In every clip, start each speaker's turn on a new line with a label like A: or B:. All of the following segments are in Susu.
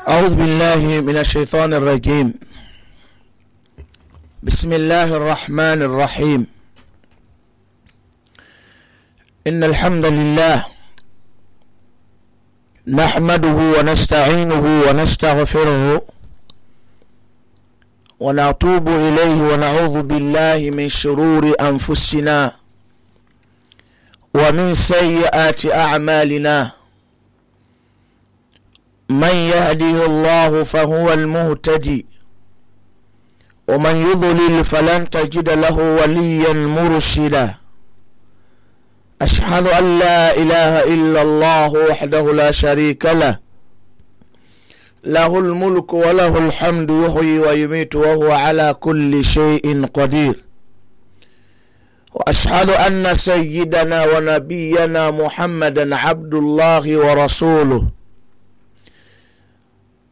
A: أعوذ بالله من الشيطان الرجيم. بسم الله الرحمن الرحيم. إن الحمد لله نحمده ونستعينه ونستغفره ونتوب إليه ونعوذ بالله من شرور أنفسنا ومن سيئات أعمالنا. من يهده الله فهو المهتدي ومن يضلل فلن تجد له وليا مرشدا. أشهد أن لا إله إلا الله وحده لا شريك له، له الملك وله الحمد يحيي ويميت وهو على كل شيء قدير. وأشهد أن سيدنا ونبينا محمدا عبد الله ورسوله،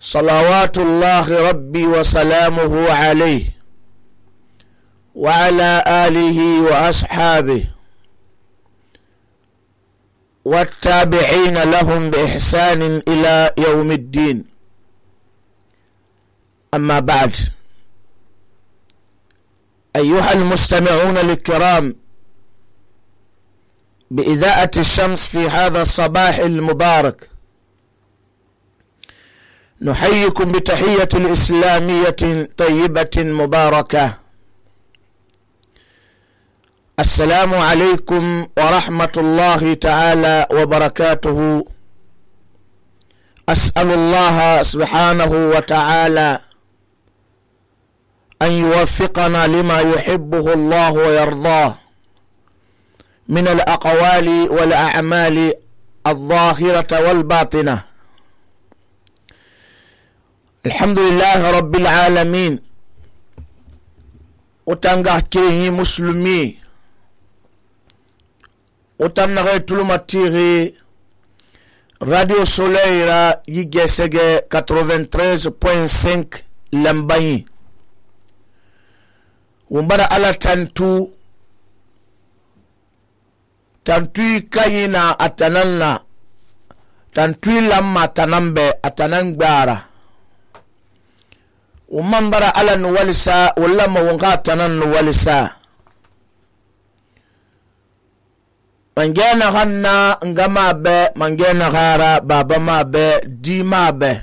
A: صلوات الله ربي وسلامه عليه وعلى آله وأصحابه والتابعين لهم بإحسان إلى يوم الدين. أما بعد، أيها المستمعون الكرام بإذاعة الشمس في هذا الصباح المبارك، نحييكم بتحية الإسلامية طيبة مباركة. السلام عليكم ورحمة الله تعالى وبركاته. أسأل الله سبحانه وتعالى أن يوفقنا لما يحبه الله ويرضاه من الأقوال والأعمال الظاهرة والباطنة. الحمد لله رب العالمين. وتنغا كيري مسلمي وتنغا تلوماتيغي راديو سوليرا يجسجي 93.5 لمباني ومبارا على تنتوي كاينا أتنالنا تنتوي لما تنمبي أتنانبارا ومن برا على نوالسا ولما ونغاتنا نوالسا من جينا غنا نغما بي من جينا غارا بابا ما بي دي ما بي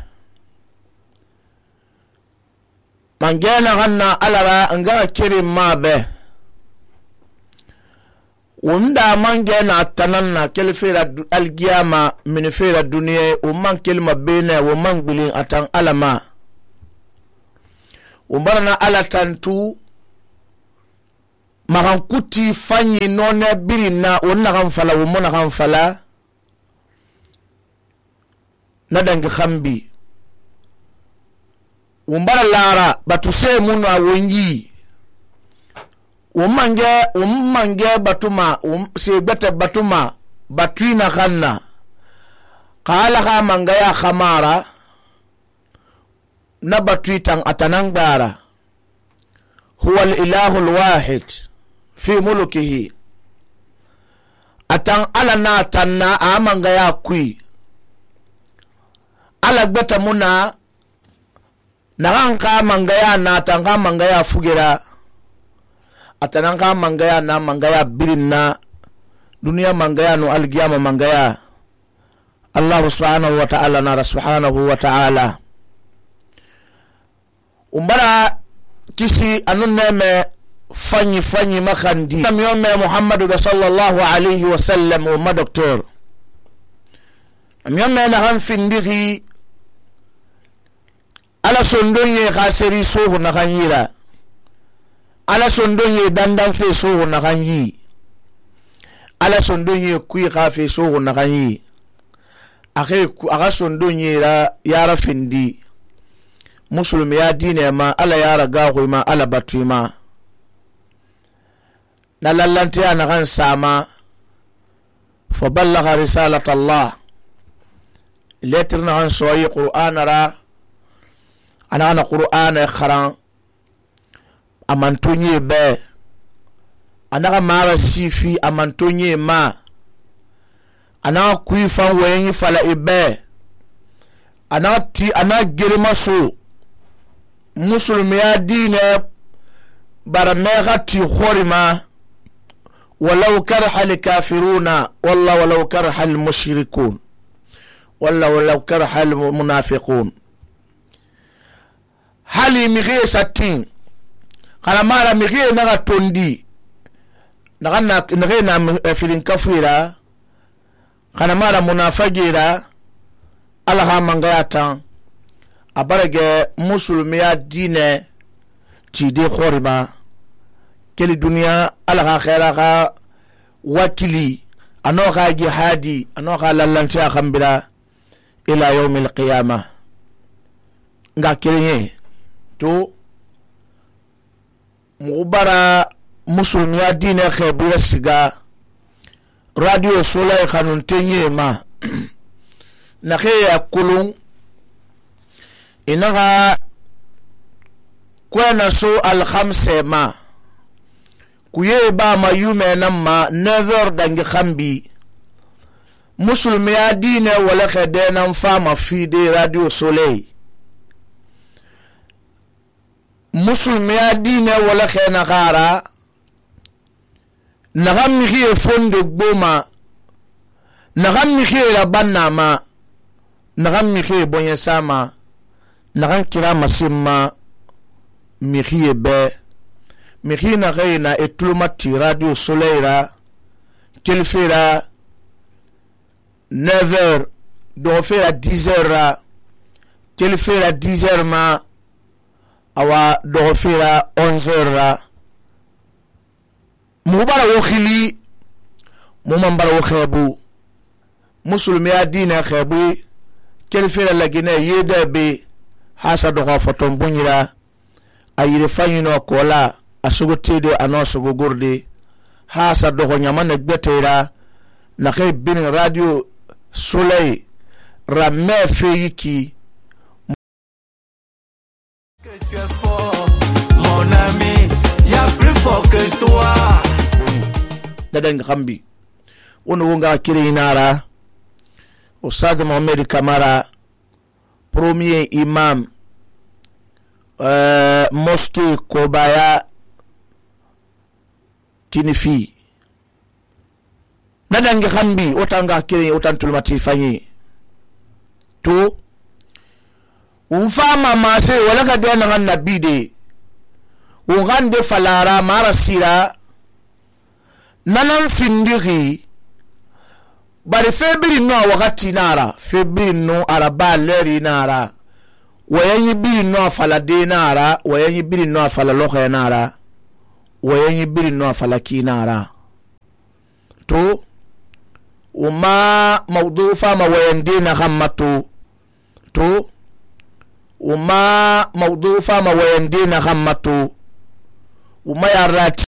A: من جينا غنا على را نغا كريم ما بي وندا من جينا تنانا كل فيرا القيامة من فيرا الدنيا ومن كلمة بينا ومن بلين أتن ألما umbarana ala tantu magan kuti fanyi nona birina wonna kan fala wumona kan fala nadangi khambi umbara lara batuse munu awonyi ummange batuma se bete batuma batuina khanna qala kha mangaya khamara نبتويتان أتنانبارا هو الإله الواحد في ملكه أتان على ناتنا آمان غيا كوي على بيتا منا نغانقا من غيا ناتان غامان غيا فجرا أتنان غامان غيا نامان غيا برنا دنيا من غيا نو القيامة من غيا الله سبحانه وتعالى نار سبحانه وتعالى. umbara kisi anuneme fanyi makandi miyome Muhammadu sallallahu alayhi wa sallam wa doktor miyome na hanfindiri ala sondonye khaseri sohu na khanyira ala sondonye dandan fe sohu na khanyi ala sondonye kui khafe sohu na khanyi aga sondonye ra yara findi مسلم يا دين ما ألا يا رجاوي ما ألا بتوي ما نلالنتي أنا غن ساما فبلغ رسالة الله لترنا عن سوي قرآن را أنا قرآن خران أمانتوني به أنا ما رسيفي أمانتوني ما أنا كوي فان وين فلا إبه ana gerima so musulmiya dine bara mega ti khorima walau karha al-kafiruna walau karha al-mushrikun walau karha al-munafiqun hali mighe satin kana mara mighe naga tondi naga na filin kafira kana mara munafagira alaha mangayata abarage musulmiya dine ti de khorima keli duniya alaha khaira kha wakili anoha jihadi anoha lallanti akhambira ila yawmil qiyamah nga kirenye to mubara musulmiya dine khebira siga radio Soleil khanun tenye ma na khiya kulun inaga kwena so al-khamse ma kuye ba ma yume namma 9h dangi khambi musulmiya dine wala khadena fama fide radio Soleil musulmiya dine wala khena gara nagam khiye fondo gboma nagam khiye la banama nagam khiye bonye sama nagam kira masimma mi khiye be mi khina gaina etlumati radio Soleil ra kelfera 9h do fera 10h ra kelfera 10h ma awa do fera 11h ra mubara wo khili mumambara wo khabu musulmiya dina khabu kelfera lagina yeda be hasa do foton bunyira ayire fanyino kola asugotede anosugo gurde hasa do nyamane gbetera na khay bin radio Soleil ramme feyiki
B: que tu es fort mon ami y a plus fort que toi
A: dadan khambi wono wonga kirinara Ustad Mohamed Kamara premier imam mosquée Kobaya Kinifi dadan khambi otanga kirin otantulmati fanyi to ufama mase wala ka dena ngan nabide ugande falara marasira nanan findiri bari febiri no wakati nara febiri no araba leri nara wayanyi biri no falade nara wayanyi biri no fala lokhe nara wayanyi biri no fala ki nara to uma mawdu fama wayandina khammatu to uma mawdu fama wayandina khammatu uma yarati